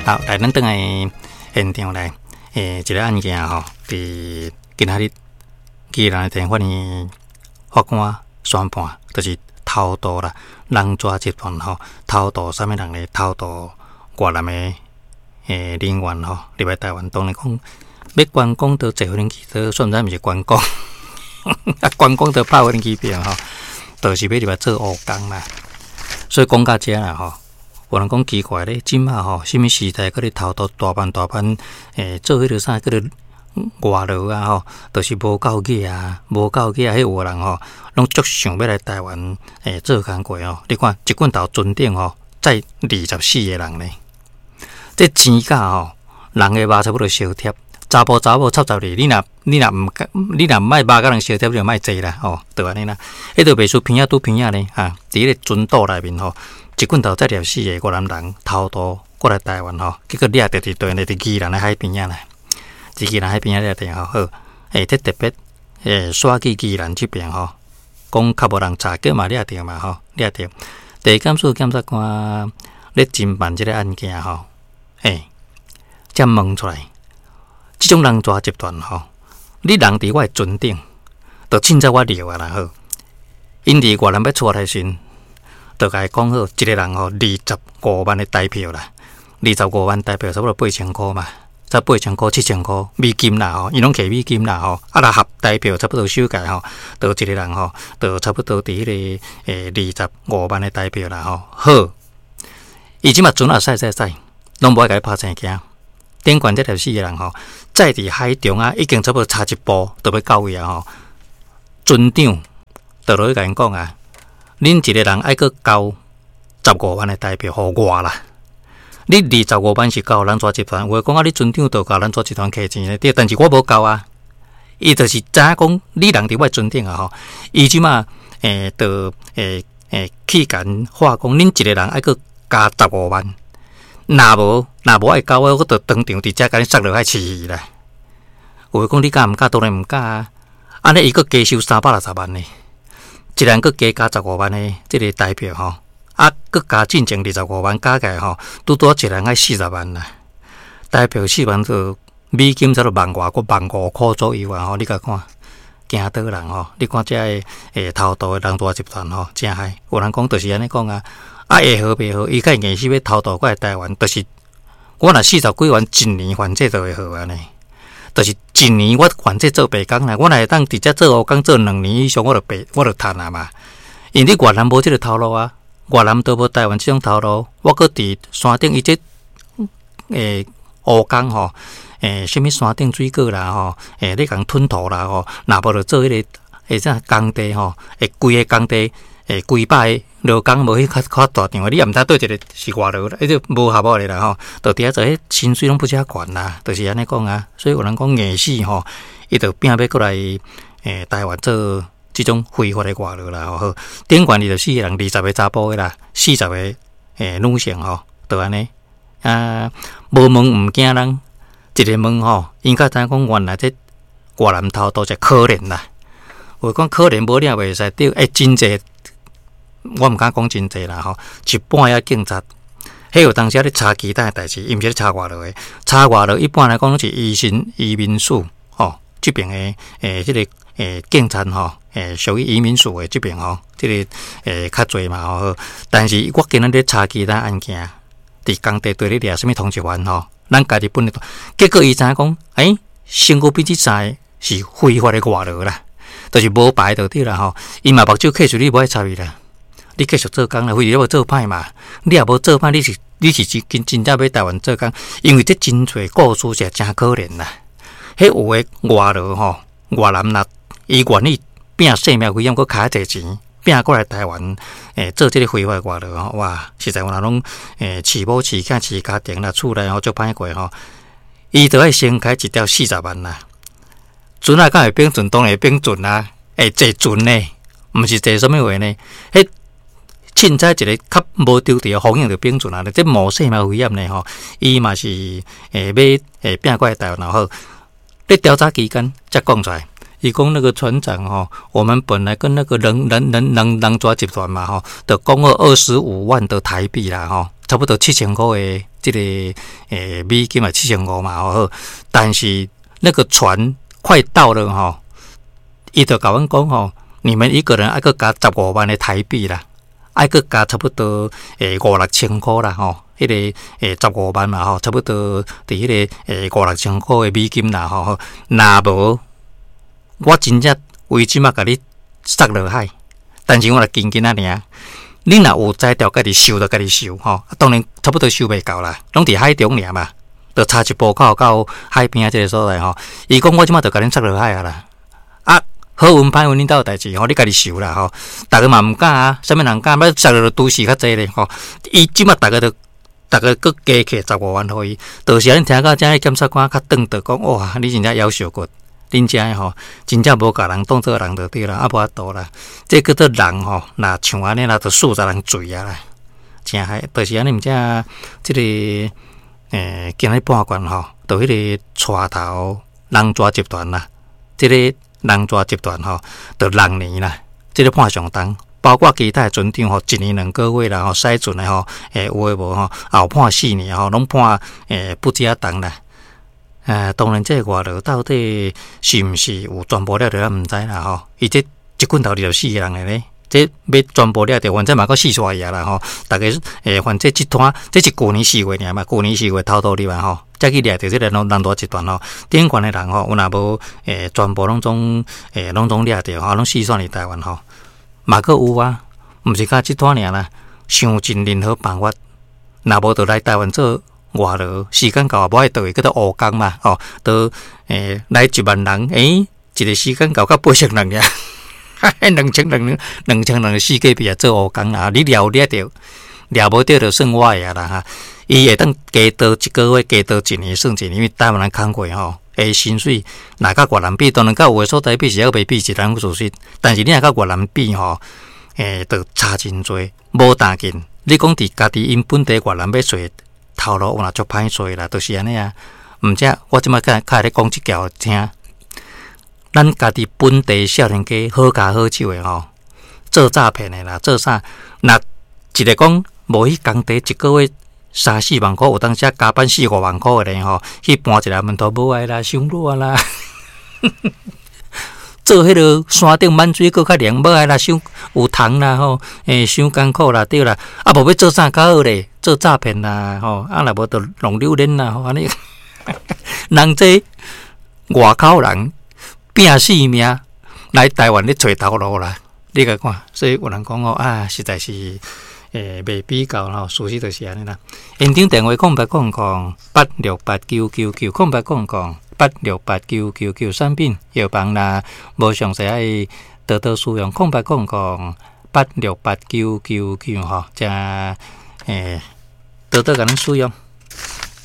好，來，咱轉來現場來，一个案件吼，佇今仔日宜蘭的地方法院法官宣判，就是偷渡啦，人蛇集團吼，偷渡啥物人咧？偷渡越南的人員吼，入來台灣，當然講欲觀光都坐無人機，都算毋知毋是觀光，啊，觀光都拍無人機票吼，就是欲入來做黑工啦。所以講到遮啦吼，有人講奇怪咧，這馬吼，啥物時代閣咧偷渡大班大班，做彼个啥叫做外勞啊吼，就是無夠額啊，無夠額啊，彼有的人吼，攏足想欲來台灣做工課吼。你看一罐頭船頂吼，載24個人呢，這錢價吼，人的肉差不多相貼，查埔查某插12，你若毋敢，你若毋愛肉佮人相貼，你就莫坐啦吼，就按呢啦。彼就袂輸鼻仔拄鼻仔呢，哈，佇彼个船島內面吼，一罐頭載24個越南人偷渡過來台灣吼，結果掠著佇佗呢？佇宜蘭的海邊仔啦，佇宜蘭海邊仔掠著吼，好，這特別煞去宜蘭這邊吼，講較無人查，結嘛掠著嘛吼，掠著。地檢署檢察官咧偵辦這个案件吼，才問出來，這種人蛇集團吼，你人佇我的船頂，就凊彩我掠啊啦好，𪜶佇越南欲出來時，就共伊講好，一個人吼25萬的台票啦，二十五萬台票差不多8000箍嘛，才8000箍7000箍美金啦吼，伊攏摕美金啦吼，啊若合台票差不多收起吼，就一個人吼，就差不多佇彼个二十五萬的台票啦吼。好，伊這馬船仔駛駛駛，攏無愛共你拍生驚。頂懸這24個人吼，載佇海中啊，已經差不多差一步就欲到位啊吼。船長就落去共𪜶講啊，恁一個人愛閣交十五萬的台票予我啦。你二十五萬是交人蛇集團，有的講啊，你船長就共人蛇集團摕錢咧，對，但是我無交啊。伊就是知影講，你人佇我船頂啊吼，伊這馬就去共話講，恁一個人愛閣加十五萬，若無愛交我，我就當場佇遮共你殺落海飼魚啦。有的講你敢毋敢？當然毋敢啊。按呢伊閣加收360萬呢。一人閣加加十五萬的這个台票吼，啊，閣加進前二十五萬加起來吼，拄拄一人愛四十萬啦。台票四萬就美金差不多萬外個15,000箍左右啊吼，你共看，驚倒人吼？你看這个偷渡的人蛇集團吼，誠害。有人講就是按呢講啊，啊會好袂好？伊較硬死欲偷渡過來台灣，就是我若四十幾萬一年還債就會好按呢。就是一年我還債做白工啦，我若會當佇遮做黑工做2年以上，我就白我就趁啊嘛。因為你越南無這个頭路啊，越南都無台灣這種頭路，我閣佇山頂伊這黑工吼，啥物山頂水果啦吼，咧共吞塗啦吼，若無就做彼个啥工地吼，規个工地幾百個勞工無彼較較大場的，你也毋知佗一个是外勞啦，彼個無合法的啦吼，就佇遐做，彼薪水攏不遮懸啦，就是按呢講啊。所以有人講硬死吼，伊就拼欲過來台灣做這種非法的外勞啦吼。好，頂懸24個人，20個查埔的啦，40個女性吼，就按呢啊，無問毋驚人，一个問吼，𪜶較知影講原來這越南偷渡真可憐啦。有講可憐無你也袂使對，真濟，我毋敢講真濟啦吼。一般的警察，彼有當時咧查其他的代誌，伊毋是咧查外勞的。查外勞一般來講攏是移民署吼，這邊的這个警察吼，屬於移民署的這邊吼，這个較濟嘛吼。但是我今仔咧查其他案件，佇工地對咧掠啥物通緝犯吼，咱家己本地，結果伊知影講，身軀邊這三个是非法的外勞啦，就是無牌就對啦吼。伊嘛目睭開出，你無愛插伊啦，你繼續做工啦，非你無做歹嘛，你也無做歹，你是真真正欲台灣做工，因為這真濟故事是誠可憐啦。彼有的外勞吼，越南若伊願意拼性命危險，閣開濟錢，拼過來台灣，做這个非法外勞吼，哇！實在有人攏飼某飼囝飼家庭啦，厝內吼足歹過吼。伊就愛先開一條四十萬啦。船仔敢會變船？當然會變船啊！坐船呢，毋是坐啥物話呢？彼凊彩一个較無著佇的風險就變船啊！這冒性命危險呢吼，伊嘛是欲拼過來台灣也好。咧調查期間才講出來，伊講那個船長吼，我們本來跟那個人人人人人蛇集團嘛吼，就講好25萬的台幣啦吼，差不多7000箍的這个美金嘛，7500嘛吼。但是那个船快到了吼，伊就共阮講吼，你們一個人愛閣加十五萬的台幣啦，愛閣加差不多五六千箍啦吼，彼个十五萬嘛吼，差不多佇彼个五六千箍的美金啦吼。若無我真正為這馬共你殺落海，但是我若緊緊仔爾。你若有才調，家己收就家己收吼。當然差不多收袂到啦，攏佇海中爾嘛，就差一步口到海邊仔這个所在吼。伊講我這馬就共恁殺落海啊啦，啊好運歹運恁兜的代誌吼，你家己受啦吼。逐个嘛毋敢啊，啥物人敢？欲殺落拄死較濟咧吼。伊這馬逐个都，逐个閣加起十五萬予伊，就是按呢聽到遮檢察官較頓著講，哇，你真正夭壽骨，恁遮吼真正無共人當做人就對啦，啊無法度啦。這叫做人吼，若像按呢啦，就數十人罪啊啦，誠害，就是按呢，毋知這个今日判決吼，就彼个帶頭人蛇集團啦，這个人蛇集團吼，就六年啦，這个判上重。包括其他的船長吼，一年2個月啦吼，駛船的吼，有的無吼，也有判4年吼，攏判不止仔重啦。當然這个外勞到底是毋是有全部掠著，咱毋知啦吼。伊這一棍頭24個人的咧，這欲全部掠著，反正嘛閣四煞去啦吼。逐个反正這攤這是舊年四月爾嘛，舊年四月偷渡入來吼，才去掠著這个人人蛇集團吼。頂懸的人吼，有若無全部攏總掠著吼，攏四散佇台灣吼。嘛閣有啊，毋是干這攤爾啦，想盡任何辦法，若無就來台灣做外勞，時間到啊，無愛倒去，叫做烏工嘛，吼，都來1萬人，一个時間到才8000人爾，兩千人，2000人四界邊啊做烏工啊，你掠有掠著，掠無著就算我的啊啦哈。伊會當加多一個月，加多一年算一年，因為台灣人工課吼。薪水若佮越南比，當然佮有的所在比是猶袂比，一人事實。但是你若佮越南比吼，就差真濟，無當緊。你講佇家己𪜶本地越南欲揣頭路，有若足歹揣啦，就是按呢啊。毋才我這擺較較會咧講這條聽。咱家己本地少年家好跤好手的吼，做詐騙的啦，做啥？若一个講無去工地一個月三四萬箍，有當時加班四五萬箍的咧吼，去搬一个門頭無愛啦，傷熱啦。做彼个山頂滿水閣較涼，無愛啦，傷有蟲啦吼，傷艱苦啦，對啦。啊，無欲做啥較好咧？做詐騙啦吼，啊，若無就弄榴蓮啦吼，按呢。人這外口人拼性命來台灣咧揣頭路啦，你共看，所以有人講哦啊，實在是。袂比較吼，事實就是按呢啦。現場電話0800868999，0800868999，產品藥房啦，無詳細愛多多使用0800868999吼，才多多共咱使用。